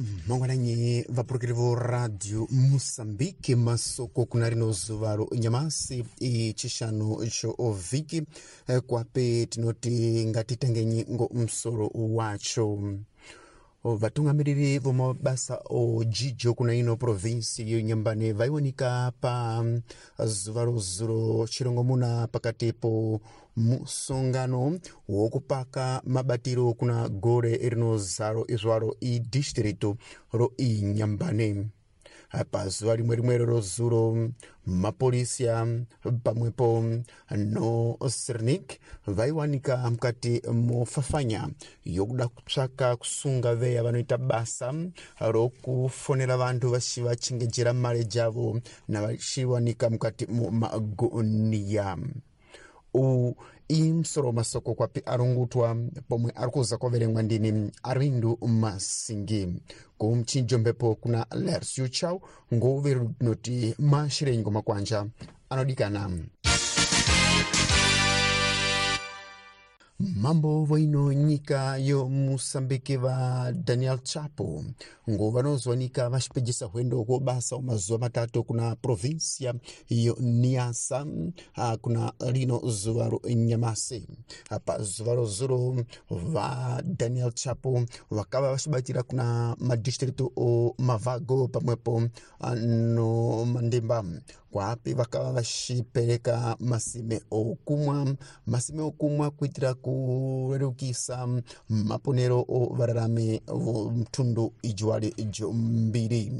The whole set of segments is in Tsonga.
Mangwananyi vapurukiri vo Radio Moçambique, masoko kuna rino zuva ro nyamasi ichishanu cho vhiki. Kwape tinoti ngatitengenyi ngo musoro wacho. Vatungamiriri vomabasa o jijo kuna ino provinsi yonyambane vaionika pa zuva rozuro chirongomuna pakati po musongano wokupaka mabatiro kuna gore rinozaro izvaro idistritu ro inyambane. Pazuva rimwe rimwe rozuro, mapolisia pamwepo no Sernik vaiwanika mukati mofafanya yokuda kutsvaka kusunga veya vanoita basa rokufonera vantu vachivachengejera mari javo navachiwanika mukati momagonia. Uwu imusoro masoko kwapi arongutwa pomwe ari kuza kwaverengwa ndini Arwindo Masingi. Kumchinjo mbepo kuna Lercio Chau ngouve rinoti mashirenyi makwanja anodikana. Mambo voino nyika yo Musambiki va Daniel Chapo ngo vanozowanika vachipejesa hwendo ko basa mazuva matatu kuna provinsia yo Niassa kuna rino zuva ro nyamasi. Pa zuva rozuro va Daniel Chapo vakava vachibatira kuna madistritu o Mavago pamwepo no Mandimba, kwapi vakava vachipereka masime okumwa, masime okumwa kuitira kurerukisa maponero o vararami mtundu ijuwali jombiri.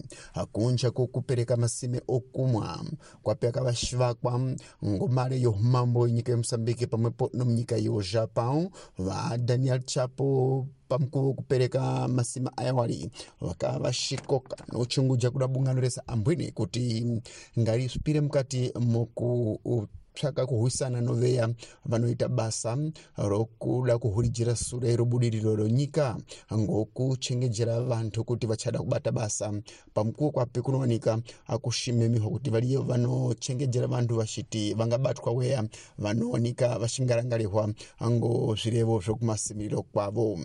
Kunja kukupereka masime okumwa kwapi akavashivakwa ngomare yo mambo yenyika yeMosambiki pamwepo nomunyika yo Japão. Va Daniel Chapo pamukuvo kupereka masima ayawali vakava vashikoka nochunguja kuda bungano resa ambwine kuti ngarisvipire mukati moku tsvaka kuhwisana noveya vanoita basa rokuda kuhurijira sure robudiriro ronyika ngokuchengejera vantu kuti vachada kubata basa. Pamukuwo kwapi kunowanika akushimemihwa kuti variyo vanochengejera vantu vachiti vangabatwa weya vanowanika vachingarangarihwa ngo zvirevo zvokumasimiriro kwavo.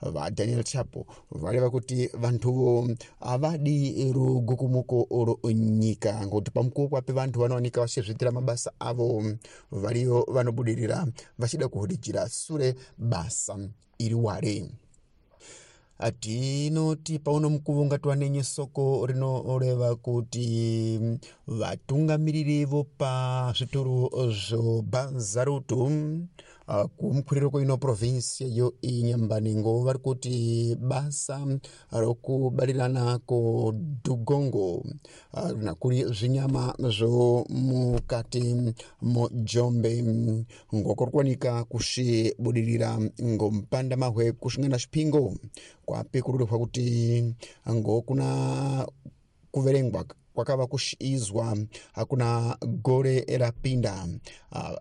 VaDaniel Chapo vareva kuti vantuvo havadi rugukumuko ronyika ngokuti pamukuwo kwapi vantu vanowanika vachizviitira mabasa avo, variyo vanobudirira vachida kuhurijira sure basa iri ware. Tinoti pauno mukuvo ngatiwanenye soko rinoreva kuti vatungamiriri vopa zvitoro zvobazarutu kumukwiriro kweino provinsia yo inyambani ngo vari kuti basa rokubarirana ko dugongo nakuri zvinyama zvo mukati mojombe ngokorikwanika kusvibudirira ngomupanda mahwe kusvingana zvipingo kwapi kururihwa kuti ngokuna kuverengwa kwakava kushizwa hakuna gore rapinda.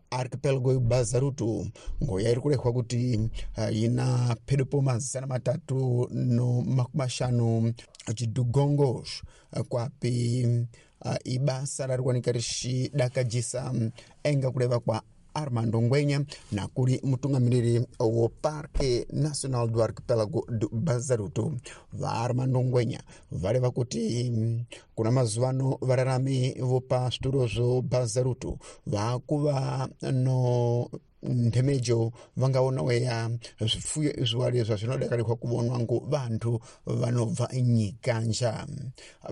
Archipelago yeBazarutu ngoya iri kurehwa kuti ina pedo po 350 chidugongo kwapi ibasa rarikuwanika richidakajisa enga kureva kwa Armando Ngwenya nakuri mutungamiriri wo Parque Nacional do Arquipélago do Bazaruto. VaArmando Ngwenya vareva kuti kuna mazuva ano vararami vopa zvitoro zvo Bazaruto vakuva no nthemejo vangaona weya zvifuyo izviwari zvazvinodakarihwa kuvonwa ngo vantu vanobva nyikanja.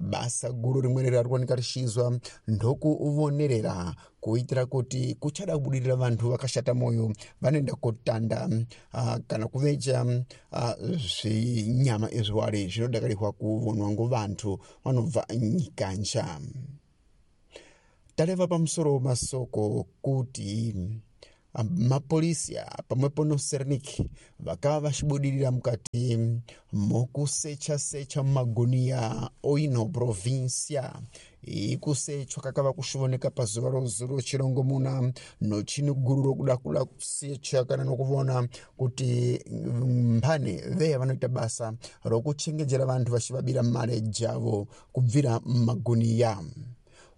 Basa guru rimweni rarikuwanika richizwa ndokuvonerera kuitira kuti kuchada kubudirira vantu vakashata moyo vanoenda kotanda kana kuveja zvinyama izviwari zvinodakarihwa kuvonwa ngo vantu vanobva nyikanja. Tareva pamusoro masoko kuti mapolisia pamwepo no Sernik vakava vachibudirira mukati mokusecha-secha mumagunia oino provinsia. Ikusechwa kakava kushivoneka pazuva rozuro chirongomuna nochiniguru rokuda kuda kusecha kana nokuvona kuti mbane veya vanoita basa rokuchengejera vantu vachivabira mare javo kubvira mumaguniya.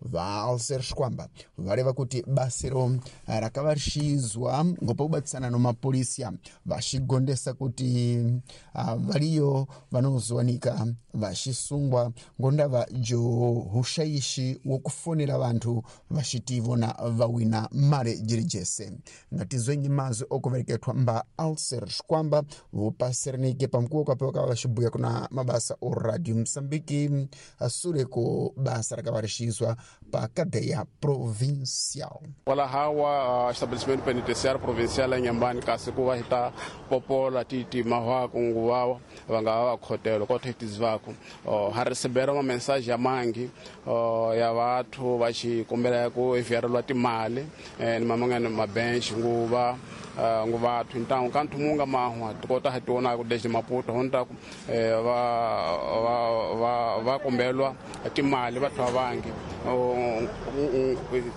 Va Alcer Shikwamba vareva kuti basero rakavarishizwa ngo pakubatisana no mapolisiya, vachigondesa kuti variyo vanozowanika vachisungwa ngo ndava jo ushaishi wokufonera vanthu vachiti ivona vawina mare jiri jese. Ngatizwenyi mazwi okuvereketwa mba Alcer Shikwamba vopaserinike pamukuwo kape wakava vachibuya kuna mabasa o Radio Moçambique sure ko basa rakavarishizwa pa cadeia provincial. Kwala hawa estabelecimento penitenciário provincial ya Inhambane, kasi ku va hi ta popola ti mahwaku nguva va nga va khotelo ko thetizivaku ha recebera ma mensagem ya mangi ya vathu va xi kombela ku enviarelwa timali ni mamangani mabench nguva nguvathu ntangu ka nthumunga mahwa tikota ha tiona ku desde Maputo honta va va va va kombelwa timali vathu va vangi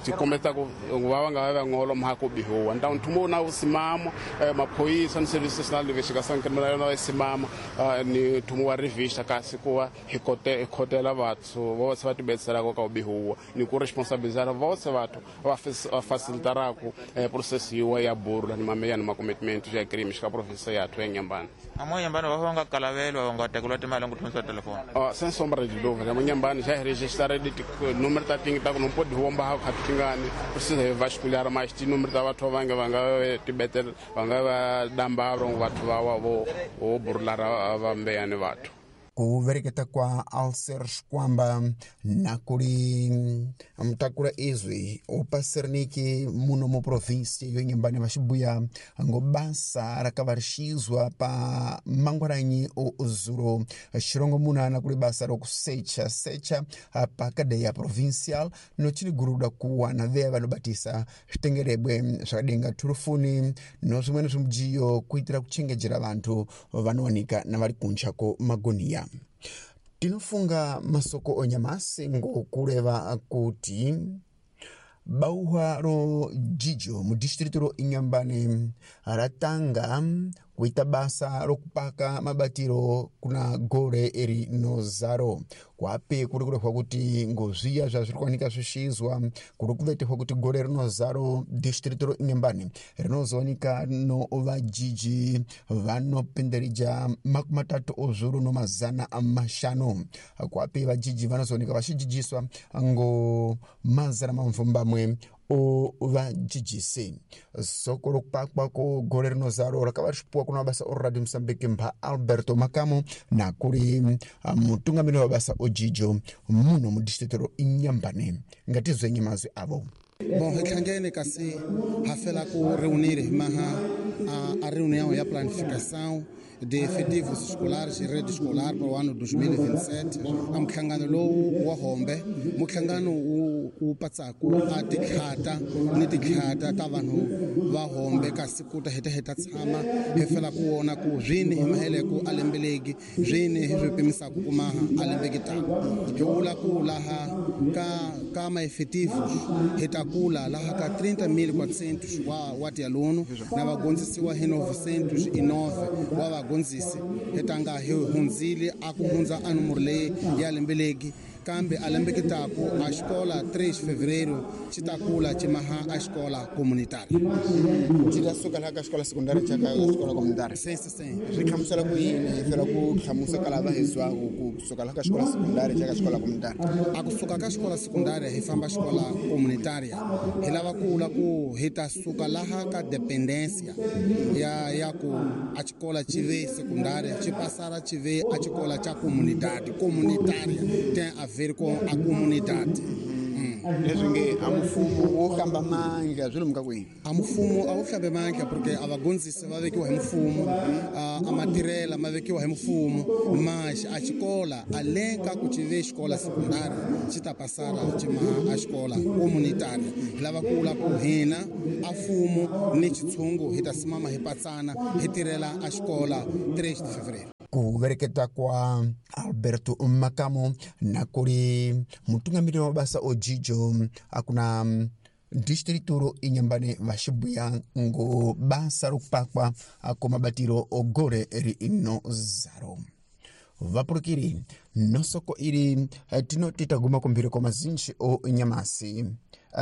tikombeta ku va nga va ngolo mha ku bihuwa ntangu nthumo na usimama maphoyisa ni service national investigação criminal na simama ni nthumo wa revista, kasi ku va hi kote hi khotela vathu vose va tibetselaka ka ku bihuwa ni ku responsabilizar vose vathu va facilitaraku process yiwa ya burula ni mameya ni macommitment ya crime xika province yathu ya Inhambane. Amo Inhambane va nga kalavelwa va nga tekeriwa timali ngo thomisa telefoni? Sem sombra de dúvida, mo Inhambane já registraram de número ta tingi ta ku não pode romba ha tingani precisa vasculhar mais ti número ta vathu va nga tibetel va nga va damba vathu va wa vo vo burula va mbeyani vathu. Kuvereketa kwa Alcer Shikwamba nakuli mtakula izwi upaseriniki muno mu provinsia yo Inhambane vaxibuya ngo basa rakavarishizwa pa mangwaranyi o zuro xirongomuna nakuli basa rokusecha secha pa cadeia provincial nochiliguruda kuwana veya vanobatisa zvitengerebwe zvakadenga turufuni no zvimweni zvimujiyo kuitira kuchengejera vanthu vanowanika na vari kunja ko magoniya. Tinofunga masoko onyamasi ngokureva kuti bauhwa ro jijo mu distrito ro Inhambane ratanga kuita basa rokupaka mabatiro kuna gore rinozaro, kwape kuri kurehwa kuti ngozviya zvazviri kuwanika zvishizwa kuri kuvetehwa kuti gore rinozaro distrito ro Inhambane rinozowanika no vajiji vanopindirija 35,500, kwape vajiji vanozowanika vachijijiswa ngo 800 o vajijisi. Soko rokupakwa ko gore rinozaro rakava richipuwa kuna mabasa o Radio Moçambique mba Alberto Makamo nakuri mutungamiri wabasa ojijo muno mudistrito ro Inhambane. Ngatizwenyi mazwi avo. Bom, hi hlangene kasi ha fela ku reunir maha a reunião e a planificação de efetivos escolares e rede escolar para o ano 2027. A muhlangano lowu wa hombe muhlangano wu patsaku a tikhata ni tikhata ta vanhu va hombe, kasi ku ta heta heta tshama hi fela ku vona ku swini hi maheleko a lembeleki swini hi swi pimisaku ku maha a lembeki taku hi vula ku laha ka maefetivos hi ta kula laha ka 30.400 wa tialuno na vagondzisiwa hi 909 wa vagondzisi. Hi tanga hi hundzile a ku hundza a numero leyi ya lembeleki, kambe a lembeki taku a xikola 3 fevereiro xi ta kula xi maha a xikola comunitária. Xi ta suka laha ka xikola sekondari xa ka xikola comunitária? Sim, sim, sim. Swi hlamusela ku yini hi fela ku hlamusa ka lava hi zwaku ku suka laha ka xikola sekondari xa ka xikola comunitária? A kusuka ka xikola sekondari hi famba xikola comunitária, hi lava ku vula ku hi ta suka laha ka dependência ya ku a xikola xi ve secundária xi passara xi ve a xikola xa comunidade comunitária, tem a ver com a comunidade. Leswi nge a mfumo wo hlamba mandla swi lomuka kwini? A mfumo a wu hlambe mandla porque a vagondzisi va vekiwa hi mfumo, a matirhela ma vekiwa hi mfumo, mas a xikola além ka ku xi ve xikola secundária xi ta passara xi maha a xikola comunitária. Hi lava ku vula ku hina a mfumo ni xitshungu hi ta simama hi patsana hi tirhela a xikola 3 de fevereiro. Kuvereketa kwa Alberto Makamo nakuri mutungamiri wa mabasa ojijo akuna distrito ro Inhambane vaxibuya ngo basa rokupakwa ko mabatiro ogore rinozaro. Vapulukiri nosoko ili tinoti taguma kumphiri kwa mazinji o nyamasi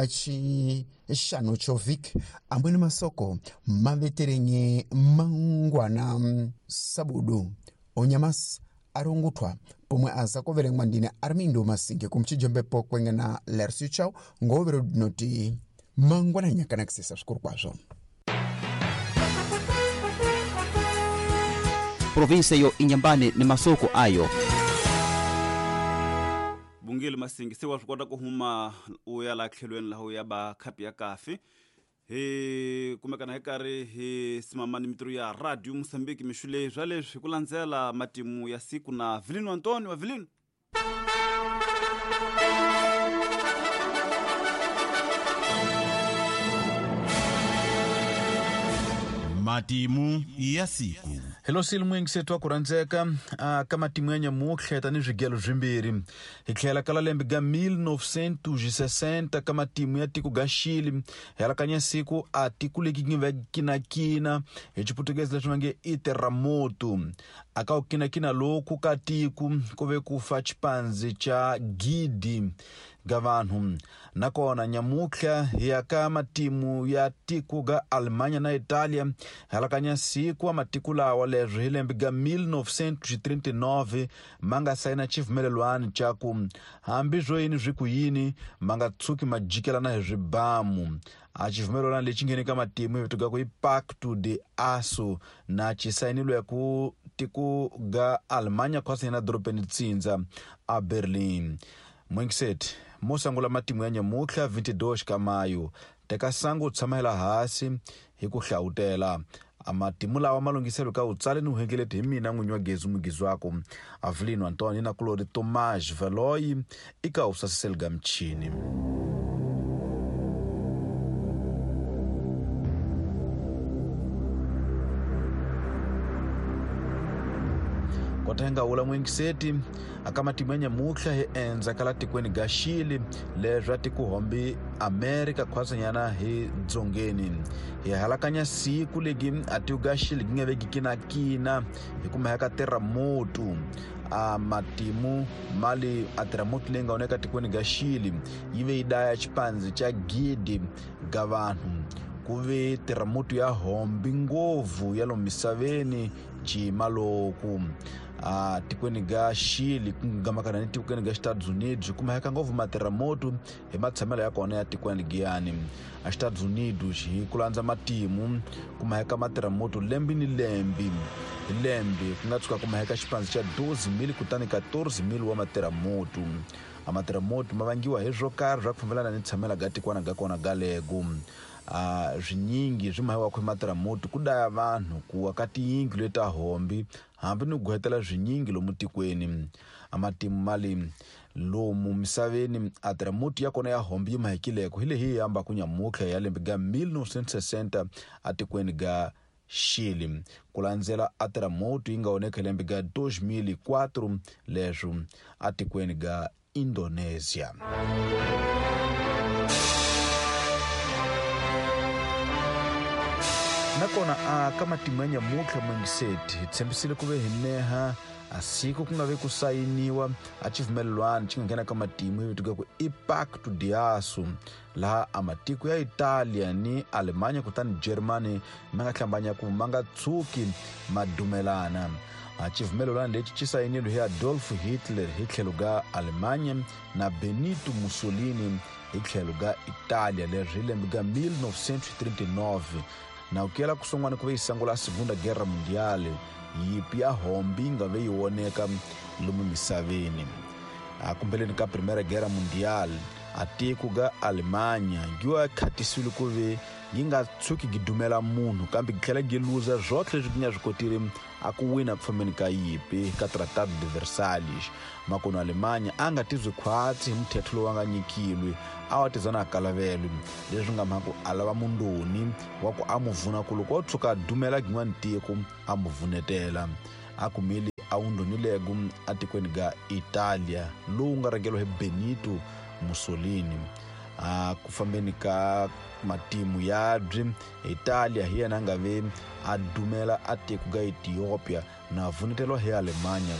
chixano chovik amwene masoko maveterenye mangwana sabudu onyamasi arunguthwa pomwe aza kuverengwa ndine Armindo Masinge kumchijombepo kwengena Lercio Chau ngovero dinoti mangwana nyakanakisisa svikuru kwazvo. Provinsia yo Inhambane ni masoko ayo. Bungile Masinge se wa swi kota ku huma u ya la tlhelweni laha u ya ba khapi ya kafe hi kumekana hi karhi hi simama ni mitirho ya Radio Mozambique mixule swa leswi hi ku landzela matimu ya siku na Vilino Antonio wa Vilino. Matimu ya siku. Hello silimwingi sethu wa ku rhandzeka ka matimu ya nyamutlha tani swigelo swimbirhi hi tlhela ka lembe ga 1960 ka matimu ya tiko ga Chile hi alakanya siku a tiko leki ngi va kinakina hi Xiputukezi leswi va nge i terremoto. Aka ku kinakina loku ka tiko ku ve ku fa xipanzi xa gidi ga vanhu. Nakona nyamutlha hi ya ka matimu ya tiko ga Alemanya na Italia hi alakanya siku wa matiko lawa leswi hi lembe ga 1939 ma nga sayina xivumelelwano xa ku hambi swo yini swi ku yini ma nga tshuki ma jikelana hi swibamu. A xivumelelwano lexi nghene ka matimu hi vito ku i Pacto de Aço na xi sayinilwe ku tiko ga Alemanya khwasina dorobeni tsindza a Berlin. Mwingiseti mo sangula matimu ya nyamutlha 22 ka mayo teka sangu tshama hela hasi hi ku hlawutela. Amatimu lawa malunghiselo ka utsale ni uhengeleti hi mina n'winyi wa gezi mugizi wako Avelino Antonio na kulori Tomás Veloy ika usasiseli ga mchini. Kwatenga ula mwingiseti akamatimu ya nyamutlha hi endza kala tikweni ga Chile leswi a tikuhombi Amerika khwasanyana hi dzongeni. Hi halakanya siku legi a tiko ga Chile gi nga veki kinakina hi kuma ka terremoto. A matimu mali a terremoto leyi nga oneka tikweni ga Chile yi ve yi daya xipanzi xa gidi ga vanhu. Ku ve terremoto ya hombi ngopfu ya lomu misaveni cimaloku a tikweni ga Chile ku ngamakana ni tikweni ga Estados Unidos kumeka ngopfu materremoto hi matshamelo ya kona ya tikweni ligiyani. A Estados Unidos hi ku landza matimu kumeka materremoto lembe ni lembe hi lembe ku nga tshuka kumeka xipanzi xa 12,000 kutani 14,000 wa materremoto. A materremoto ma vangiwa hi swo karhi swa ku fambelana ni tshamela ga tikwana ga kona ga lego. Swinyingi swi mahiwa ku materremoto ku daya vanhu ku aka tiyindlu leta hombi hambi ni ku swinyingi lomu tikweni. A matimu mali lomu misaveni a terremoto ya kona ya hombi yi mahekileko hi leyi hamba ku nyamutlha ya lembe ga 1960 a tikweni ga Chile ku landzela a terremoto yi nga oneka lembe ga 2004 leswo a tikweni ga Indonesia. Nakona a ka matimu ya nyamutlha mwingiseti hi tshembisile ku ve hi neha a siku ku nga ve ku sayiniwa a xivumelelwano xi nga nghena ka matimu hi vito ku i Pacto de Aço laha a matiko ya Italia ni Alemanya kutani Germany ma nga hlambanya ku ma nga tshuki ma dumelana. A xivumelelwano lexi xi sayinilwe hi Adolf Hitler hi tlhelo ga Alemanya na Benito Mussolini hi tlhelo ga Italia leswi hi lembe ga 1939. Na ukela kusongwana ku ve yi sangula Segunda Guerra Mundial yipi ya hombi nga ve yi woneka lomu misaveni. A kumbeleni ka Primeira Guerra Mundial a tiko ga Alemanya giwa khatisiwile ku ve yi nga tshuki gi dumela munhu kambe gi tlhela gi luza zwotlhe leswi gi nga swi kotile a ku wina ku fambeni ka yipi ka Tratado de Versailles. Makono Alemanya a nga tizwi khwatsi hi muthetho lowu a nga nyikilwe a wa tizana a kalavelo leswi nga mhaka a lava mundoni wa ku a mu vuna ku loko o tshuka a dumela gin'wana tiko a mu vunetela. A kumile a wundonilego atikweni ga Italia lowu nga rhangeriwa hi Benito Mussolini. A ku fambeni ka matimu yabyi Italia hi yena a nga ve a dumela a tiko ga Ethiopia na vunetelwa hi Alemanya.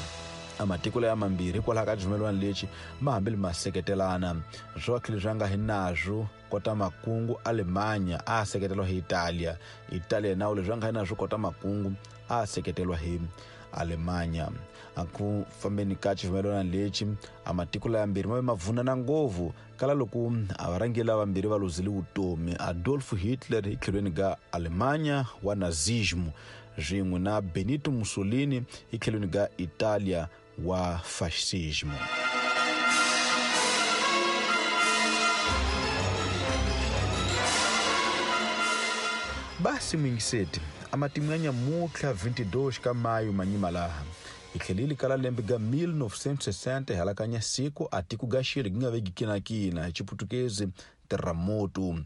Matiko laya mambirhi hikwalaho ka xivumelwano lexi ma hambile ma seketelana. Swotlhe leswi a nga hi nazwo kota makungu, Alemanya a seketelwa hi Italia, Italia nawu leswi a nga hi nazwo kota makungu a seketelwa hi Alemanya. A ku fambeni ka xivumelwano lexi, a matiko laya mbirhi ma ve ma vunana ngopfu kala loko a varhangeri lavambirhi va luzile vutomi, Adolf Hitler hi tlhelweni ka Alemanya wa Nazismo swin'we na Benito Mussolini hi tlhelweni ka Italia wa Fascismo. Basi muyingiseti, a matimu ya nyamutlha 22 ka mayu manyima laha hi tlhelile kala lembe ga 1960, hi halakanya siku a tiko ga xile gi nga veki kinakina, hi Chiputukezi terremoto.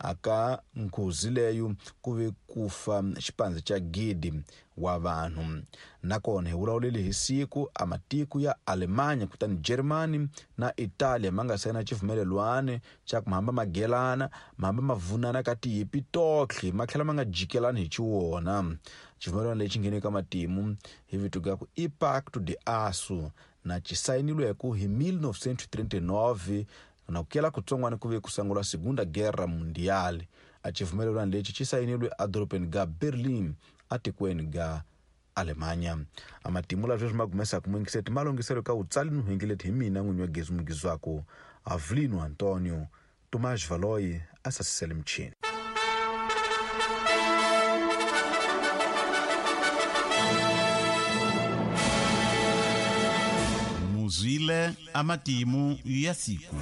Aka nghozi leyo ku ve ku fa xipandzi xa gidi wa vanhu. Nakona hi vulavulele hi siku a matiko ya Alemanya kutani Germany na Italia ma nga sayina xivumelelwano xa ku mahamba magelana, mahamba ma vunana ka tiyipi totlhe, ma tlhela ma nga jikelani hi xiwona. Xivumelwano lexi nghene ka matimu hi vito ga ku i Pacto de Aço, na xi sayinilweku hi 1939, na ku kela kutsongwana ku ve ku sungula Segunda Guerra Mundial. A xivumelwano lexi xi sayinilwe edorobeni ga Berlin atikweni ga Alemanya. A matimu la sweswi ma gumesaka muyingiseti ma longhiselo ka wutsali ni huingeleti hi mina n'winyi wa gezi mugizwako Avelino Antonio Tomás Valoyi a sasisele michini. Muzwile amatimu ya siku.